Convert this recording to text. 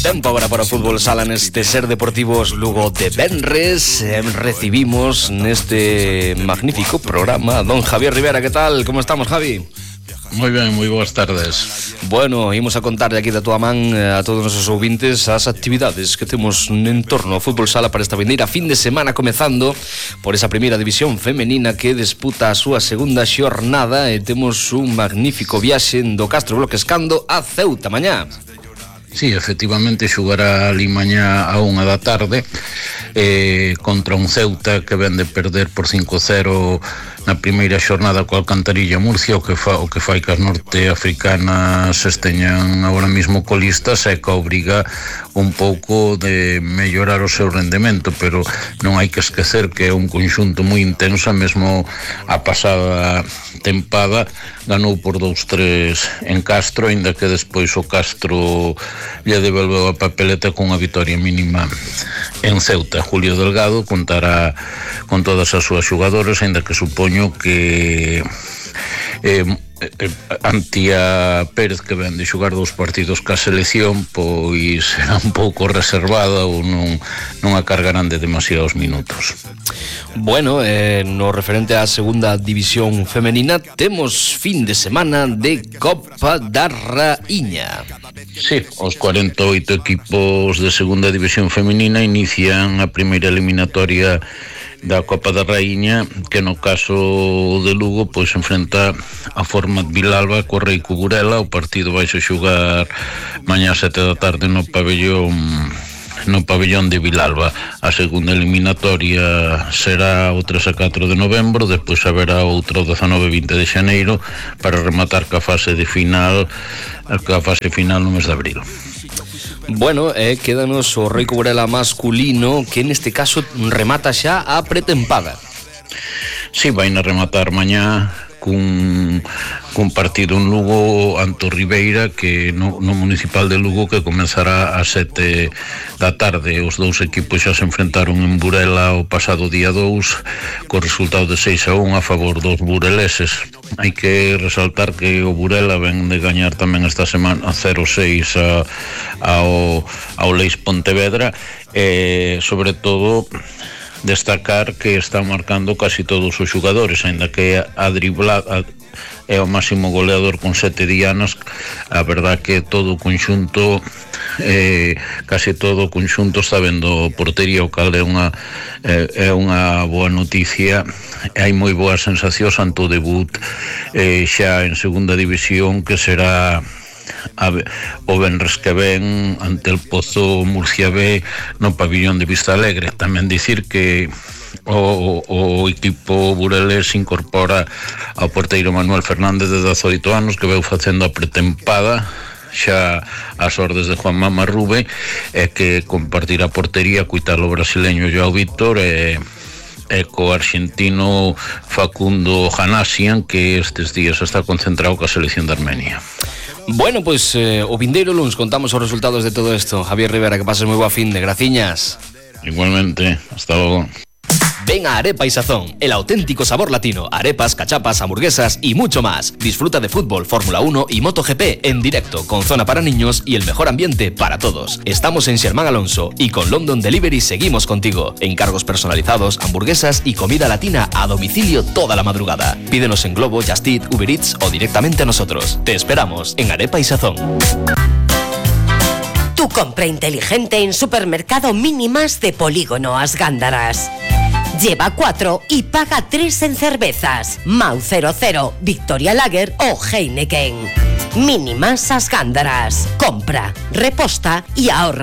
Tempo agora para o fútbol sala neste Ser Deportivos Lugo de venres. Recibimos neste magnífico programa a don Javier Rivera. Que tal? Como estamos, Javi? Moi ben, moi boas tardes. Bueno, imos a contarle aquí da túa man a todos os nosos ouvintes as actividades que temos en torno ao fútbol sala para esta vindeira fin de semana, comezando por esa primeira división femenina que disputa a súa segunda xornada e temos un magnífico viaxe do Castro Bloquescando a Ceuta mañá. Sí, efectivamente xogará ali mañá a 1 da tarde contra un Ceuta que ven de perder por 5-0 na primeira xornada coa Alcantarilla Murcia, o que fai que as norteafricanas esteñan agora mesmo colistas e que obriga un pouco de mellorar o seu rendemento, pero non hai que esquecer que é un conxunto moi intenso. Mesmo a pasada tempada ganou por 2-3 en Castro, aínda que despois o Castro lle devolveu a papeleta con unha vitoria mínima en Ceuta. Julio Delgado contará con todas as súas xogadoras, aínda que supoño que Antía Pérez, que ven de xogar 2 partidos ca selección, pois será un pouco reservada ou non a cargarán de demasiados minutos. Bueno, no referente á segunda división femenina, temos fin de semana de Copa da Raíña. Sí, os 48 equipos de segunda división femenina inician a primeira eliminatoria da Copa da Raíña, que no caso de Lugo pois enfrenta a Format Vilalba co Reico Burela. O partido vai se xogar mañá a 7 da tarde no pabellón de Vilalba. A segunda eliminatoria será o 3 a 4 de novembro, despois haberá outro 19 e 20 de xaneiro para rematar ca fase final no mes de abril. Bueno, quédanos o Reico Burela masculino, que neste caso remata xa a pretempada. Sí, vai a rematar mañá cun partido en Lugo ante Ribeira, que no municipal de Lugo, que comenzará a 7 da tarde. Os dous equipos xa se enfrentaron en Burela o pasado día 2 co resultado de 6-1 a favor dos bureleses. Hai que resaltar que o Burela ven de gañar tamén esta semana 0-6 ao Leis Pontevedra, sobre todo destacar que están marcando casi todos os xogadores, aínda que a driblada é o máximo goleador con 7 dianas. A verdad que todo o conxunto casi todo o conxunto está vendo portería, o cal é unha boa noticia. Hai moi boas sensacións ante o debut xa en segunda división, que será o venres que ven ante el Pozo Murcia B no pabillón de Vista Alegre. Tamén dicir que o equipo burelés incorpora ao porteiro Manuel Fernández, de 18 anos, que veu facendo a pretempada xa ás ordes de Juan Mama Rube, e que compartirá portería co italo brasileño Joao Víctor e co arxentino Facundo Janasian, que estes días está concentrado coa selección de Armenia. Bueno, pois o vindeiro luns contamos os resultados de todo isto. Javier Rivera, que pases moi boa fin de graciñas. Igualmente, hasta logo. Ven a Arepa y Sazón, el auténtico sabor latino, arepas, cachapas, hamburguesas y mucho más. Disfruta de fútbol, Fórmula 1 y MotoGP en directo, con zona para niños y el mejor ambiente para todos. Estamos en Xermán Alonso y con London Delivery seguimos contigo. Encargos personalizados, hamburguesas y comida latina a domicilio toda la madrugada. Pídenos en Globo, Just Eat, Uber Eats o directamente a nosotros. Te esperamos en Arepa y Sazón. Tu compra inteligente en Supermercado Mínimas de Polígono As Gándaras. Lleva 4 y paga 3 en cervezas. Mau 00, Victoria Lager o Heineken. Mínimas As Gándaras. Compra, reposta y ahorra.